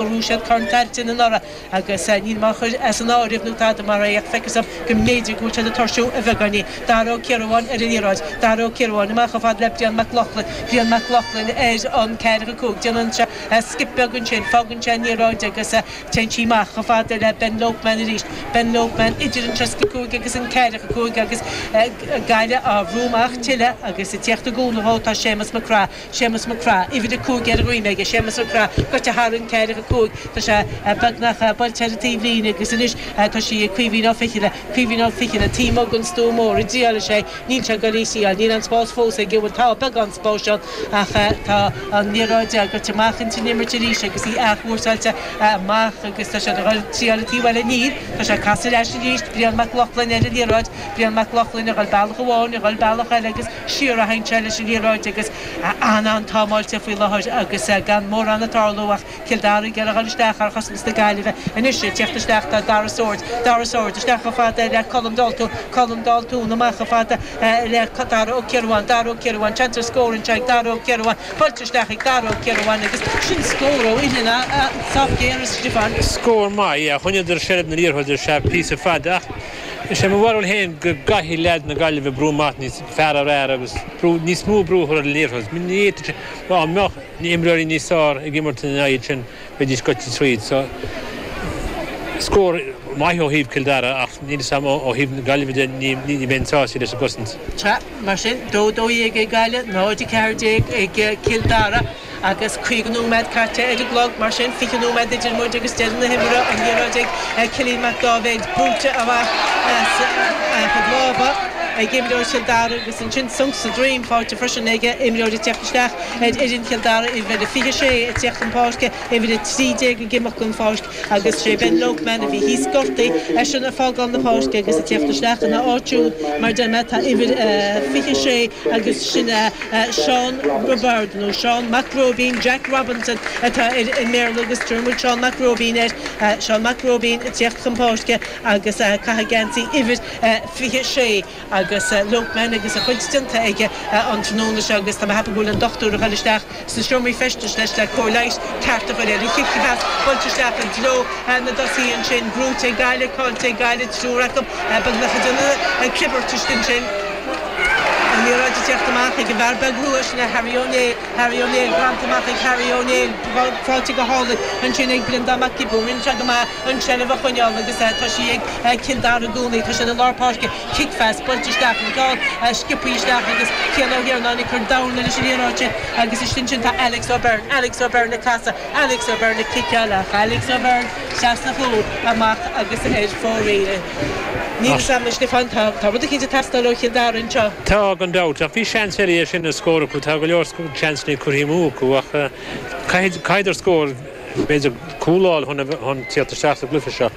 Bhuaigh siad Corn Tailteann anuraidh agus níl mé á chur as an áireamh nó tada mar é ach feictear dom go mb'fhéidir go bhfuil siad ag tuirsiú a bheagáinín. Dara Ó Ciardháin ar an liathróid. Dara Ó Ciardháin amach chomh fada le Brian Mac Lochlainn. Brian Mac Lochlainn ar an 4-5. Déanann sé skip beag ansin, fágann sé an liathróid agus téann sí amach chomh fada le Ben Lopeman arís. Ben Lopeman idir an 35 agus an 45 agus Gaillimh á bhrú amach tuilleadh agus ag tíocht i gcúnamh dhó tá Séamus Mac Craith. Séamus Mac Craith, uimhir 5 ar a dhroim aige, Séamus Mac Craith, goite thar an 4-5, tá sé beagnach buailte ar an taobh líne agus anois tá sí ag Caoimhín Ó Fichille, Caoimhín Ó Fichille, taobh amuigh den stua mór, an dtriailfidh sé, níl sé ag dul í a thriail, níl aon spás fós aige, bhuel tá beagán spáis ann ach tá an liathróid goite amach ins an imirt arís agus í athchúrsáilte amach agus tá siad ag dul triail an taobh eile, níl, tá sé ag casadh ar ais arís, Brian Mac Lochlainn ar an liathróid, Brian Mac Lochlainn ag dul bealach amháin, ag dul bealach eile agus. Siar a théann sé leis an liathróid agus an-an-támáilte faoi láthair agus gan mórán ag tarlú ach Cill Dara ag iarraidh a dhul isteach ar chosaint na Gaillimhe. Anois ag teacht isteach tá Dara Swords, Dara Swords isteach chomh fada le Colm Daltún, Colm Daltún amach chomh fada le Dara Ó Ciardháin, Dara Ó Ciardháin, seans ar scór anseo ag Dara Ó Ciardháin, buailte isteach ag Dara Ó Ciardháin agus sin scór ó uillinn sách géar a Stiofáin. Scór maith, yeah. Choinníodar seilbh na liathróide ar feadh píosa fada ach is é mo bharúil féin go gcaithfidh leaids na Gaillimhe brú amach níos fearr ar fhear agus brú, níos mó brú a chur ar an liathróid. Ní fhéadfadh sé, dá mbeadh imreoirí níos fearr ag imirt ina aghaidh sin, bheidís goite tríd. So, scór maith ó thaobh Cill Dara ach níl fhios a'm ó thaobh na Gaillimhe de, ní, ní bheinn sásta leis an gcosaint. Sea, mar sin, 2 12 ag Gaillimh, 0 14 ag Cill Dara. Agus 50 nóiméad caite ar an gclog, mar sin, 20 nóiméad idir muid agus deireadh na himeartha, an liathróid ag Cillian Mac Dáibhéid, buailte amach as a chuid lámha ag imreoir Chill Dara agus ansin sonc sa droim faighte freisin ag imreoir ag teacht isteach ar fhoireann Chill Dara, uimhir 26 ag teacht chun páirce, uimhir 13 ag imeacht den pháirc agus sé Ben Lopeman a bhí thíos gortaithe, eisean ag fágáil na páirce agus ag teacht isteach ina áit siúd, mar a deir mé, tá uimhir 26 agus sin é. Seán Roibeárd, nó Seán Mac Róibín, Jack Robinson atá air i mBéarla agus tabharfaidh muid Seán Mac Róibín air, Seán Mac Róibín ag tíocht chun páirce agus ag caitheamh geansaí uimhir 26 agus Lopeman agus a chuid déanta aige an tráthnóna seo agus tá mé ag ceapadh go bhfuil an dochtúir ag dul isteach sna seomraí feistis leis le cóir leighis ceart a chur air. An chic phas buailte isteach i dtreo na dtosaithe ansin, brúite ag Gaillimh, caillte ag Gaillimh, triúr acu beagnach ag déanamh clibirt istigh ansin. An liathróid ag teacht amach ag an bhfear beag rua sin, Harry Ó Néill, Harry Ó Néill, greanta amach ag Harry Ó Néill, faighte go hálainn ansin ag Breandán Mac Giobúin. Rinne sé go maith an tseilbh a choinneáil agus tá sí ag Cill Dara i gcónaí. Tá siad i lár páirce, cic phas buailte isteach, an ceann sciobtha isteach agus Cian Ó hIarnáin ag cur dorn leis an liathróid sin agus istigh ansin tá Alex O'Byrne, Alex O'Byrne ag casadh, Alex O'Byrne ag ciceáil ach Alex O'Byrne trasna a chúl amach agus ar fóraoil. Níl fhios a'm, a Stiofáin, tá rud eicínt ag teastáil ó Chill Dara anseo. Tá, gan dabht, ach bhí seans eile é sin a scór acu, tá go leor seansanna curtha amú acu ach caithfidh, caithfeadar scór, b'fhéidir cúl a fháil chun, chun tíocht isteach sa gcluiche seo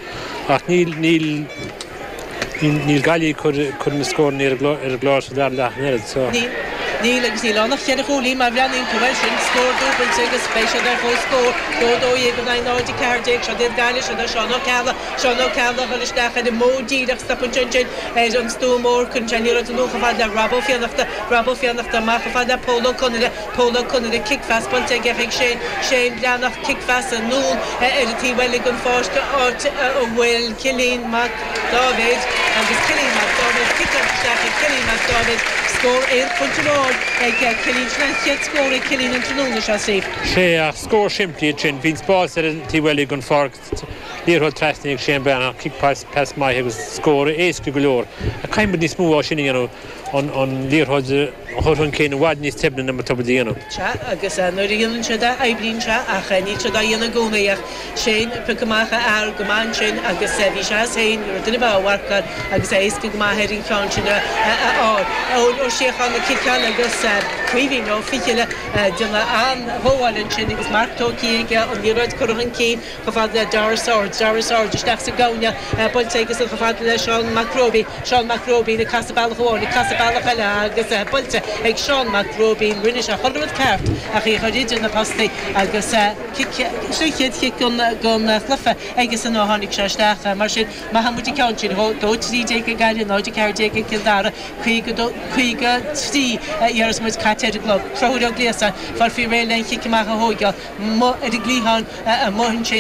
ach níl, níl, níl Gaillimh ag cur, cur na scóranna ar an gclár sa dara leath an oiread so. Níl, níl agus níl ann ach cheithre chúilín má bhreathnaíonn tú air sin, scór dúbailte agus beidh siad ar comhscór, 2 12 in aghaidh 0 14, seo iad Gaillimh, seo é Seán Ó Ceallaigh, Seán Ó Ceallaigh ag dul isteach ar an mbóthar díreach, stopann sé ansin ar an stua mór, cuireann sé an liathróid anonn chomh fada le Rob Ó Fiannachta, Rob Ó Fiannachta amach chomh fada le Pól Ó Conaire, Pól Ó Conaire, cic phas buailte aige chuig Shane, Shane Breathnach, cic phas anonn ar an taobh eile den pháirc, áit a bhfuil Cillian Mac Dáibhéid agus Cillian Mac Dáibhéid, ciceáilte isteach ag Cillian Mac Dáibhéid, scór aon phointe amháin ag Cillian, sin an chéad scór ag Cillian an tráthnóna seo, Steve. Sea, ach scór simplí ansin, bhí an spás ar an taobh eile den pháirc, Liathróid trasna ag Shane Breathnach, cic pas maith agus scór éasca go leor. Ach caithfidh muid níos mó dhó sin a dhéanamh, an liathróid a chur chun cinn i bhfad níos doimhne ná mar atá muid a dhéanamh. Sea, agus nuair a dhéanann siad é, oibríonn sé, ach níl siad á dhéanamh i gcónaí. Ach Shane ag piocadh amach a fhear go maith ansin agus bhí sé as féin, ní raibh duine ar bith á mharcáil agus é éasca go maith air an ceann sin a fháil. Eoin Ó Síocháin ag ciceáil agus Caoimhín Ó Fichille ag déanamh an-ghabháil ansin agus marc tógtha aige, an liathróid curtha chun cinn chomh fada le Dara Swords, Dara Swords isteach sa gcúinne, buailte aige san chomh fada le Seán Mac Róibín, Seán Mac Róibín ag casadh bealach amháin, ag casadh. bealach eile agus buailte ag Seán Mac Róibín. Rinne sé chuile rud ceart ach í a chur idir na postaí agus cic, sin an chéad chic den chluiche aigesan ó tháinig sé isteach. Mar sin, maithfidh muid an ceann sin dhó. 2, 13 ag Gaillimh, 0, 14 ag Cill Dara, 52, 53 a iarras muid caite ar an gclog. Conchúr Ó Gliasáin, fáil faoi réir le an chic amach a thóigeáil. Amuigh ar an gcliathán amuigh ansin.